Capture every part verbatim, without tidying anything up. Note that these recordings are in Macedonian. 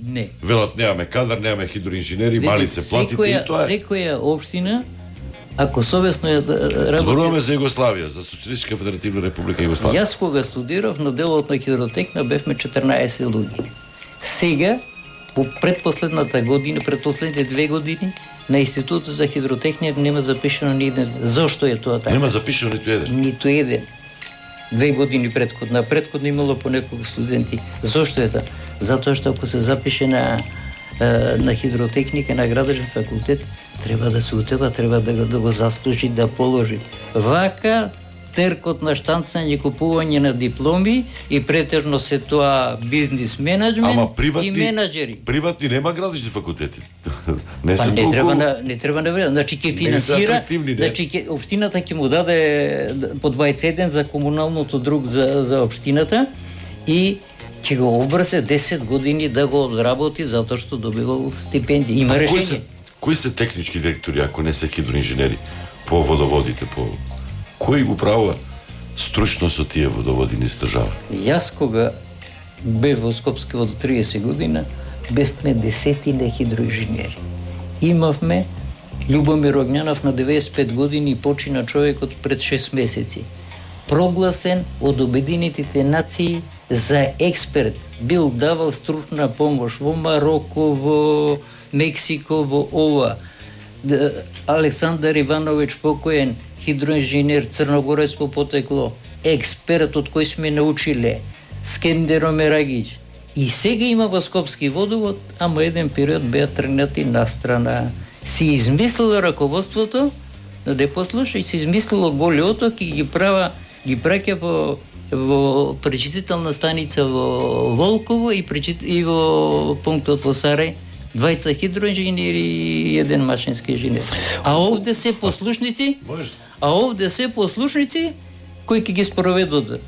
Не. Велат немаме кадар, немаме хидроинженери, мали се платите и тоа е. Секоја општина, ако совесно ја работи... Зборуваме за Југославија, за Социјалистичка федеративна република Југославија. Јас кога студирав на делот на хидротехна бевме четрнаесет луѓе. Сега, по предпоследната година, предпоследните две години, на Институтот за хидротехнија нема запишано ни еден. Зошто е тоа така? Нема запишано ниту еден. Ниту еден. Две години предходно, предходно имало по неколку студенти. Зошто е тоа? Затоа што ако се запише на на хидротехника на градежен факултет, треба да се утева, треба да го, да го заслужи, да положи. Вака теркот на штанцање, купување на дипломи и претежно се тоа бизнис менеджмент приватни, и менаџери. Приватни нема градежни факултети. не па, не треба на не треба на време, значи ќе финансира, значи ќе општината ќе му даде по дваесет и еден за комуналното друг за за општината и ќе го обрзе десет години да го одработи затоа што добивал стипендија. Има решение. Кои се, кои се технички директори ако не се хидроинженери по водоводите, по кој го правува стручно со тие водоводи низ држава? Јас кога бев во Скопски во триесет година, бевме десетина хидроинженери. Имавме Љубомир Огњанов на деветдесет и пет години почина човекот пред шест месеци. Прогласен од Обединетите нации за експерт, бил давал стручна помош во Мароко, во Мексико, во ова. Александар Ивановиќ покоен, хидроинженер, црногорецко потекло, експерт од кој сме научиле, Скендеро Мерагич. И сега има во Скопски водовод, ама еден период беа тргнати на страна. Си измислило раководството, да не послушај, си измислило Голи оток и ги права, ги праќа во во пречистителна станица во Волково и, пречит... и во пунктот во Сарај, двајца хидроинженери и еден машински инженер. А овде се послушници, а овде се послушници кои ќе ги спроведат.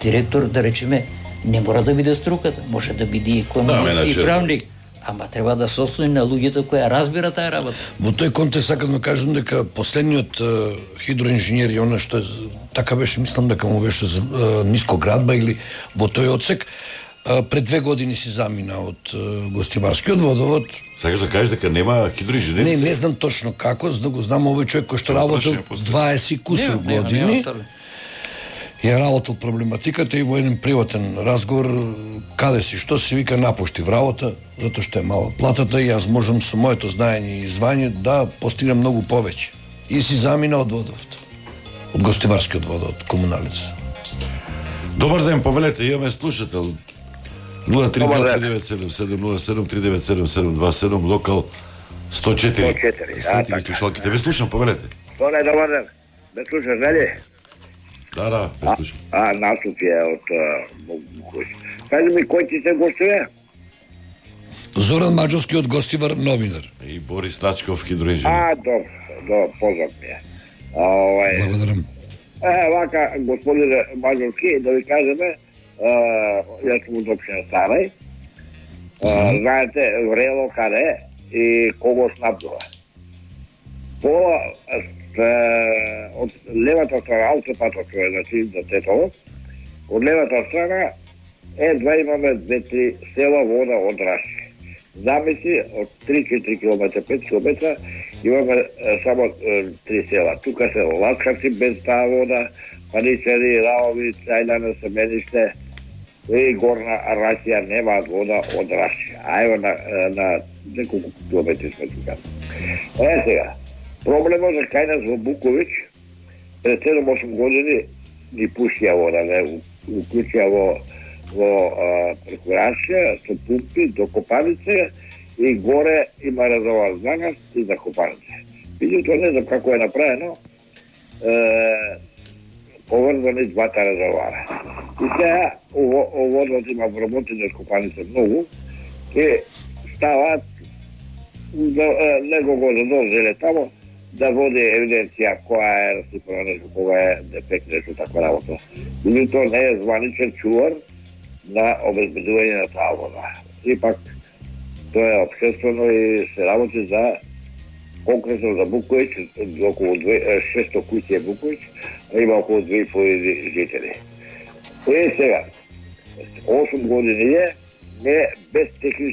Директор, да речеме, не мора да биде струката, може да биде и економист да, и правник. Ама треба да се ослони на луѓето кои разбира таа работа. Во тој контекст сакам да кажам дека последниот uh, хидроинженер и она што така беше, мислам дека му беше uh, ниско градба или во тој одсек, uh, пред две години си замина од uh, Гостиварскиот водовод. Сакаш да кажеш дека нема хидроинженери? Не, не знам точно како, за да го знам овој човек кој што работел дваесет кусур години. Ја работел проблематиката и во еден приватен разговор каде си, што си вика напушти вработа, затоа што е мала платата и јас можам со моето знаење и звање да постигнам многу повеќе. И си замина од водовод. Од Гостиварскиот водовод, комуналица. Добар ден, повелете, имаме слушател. нула три два девет седум седум нула седум три девет седум седум два седум, локал сто четири. сто четири, Следите ги слушалките. Ве слушам, повелете. Тоне, добар ден. Ме слушаш, нели? Да, да, ве слушам. А, наступ е од Букуш. Кажи ми, кој ти се гостува? Зоран Маџовски од Гостивар, новинар. И Борис Начков, хидроинженер. А, добро, добро, познат ми е. Благодарам. Е, вака, господин Маџовски, да ви кажеме, јас сум од општина Сарај. Знаете, врело каде и кого снабдува. Пола од левата страна, аутопатот кој е, значи, за Тетово, од левата страна, едва имаме две-три села вода од Раши. Замисли, од три-четири километра, пет километра, имаме е, само е, три села. Тука се Ласкарци без таа вода, Паничари, Раови, Цајлана, Семениште и Горна Расија немаат вода од Раши. А ево на, на неколку километри сме тука. Е сега, проблемот за кај нас во Буковиќ, пред седум-осум години ни пушија вода, не уклучија во во преку Рашија, со пумпи до Копанице и горе има резервоар за нас и за Копанице. Меѓутоа не знам како е направено, е, поврзани двата резервоара. И сега водот има вработени од Копанице многу, и ставаат, него го задолжеле тамо, да води евиденција која е расипана нешто, кога е дефект нешто таква работа. Меѓутоа не е званичен чувар на обезбедување на таа вода. Ипак, тоа е обшествено и се работи за конкретно за Буковиќ, околу шесто куќи е Буковиќ, а има околу две и по жители. И сега, осум години е, не без технички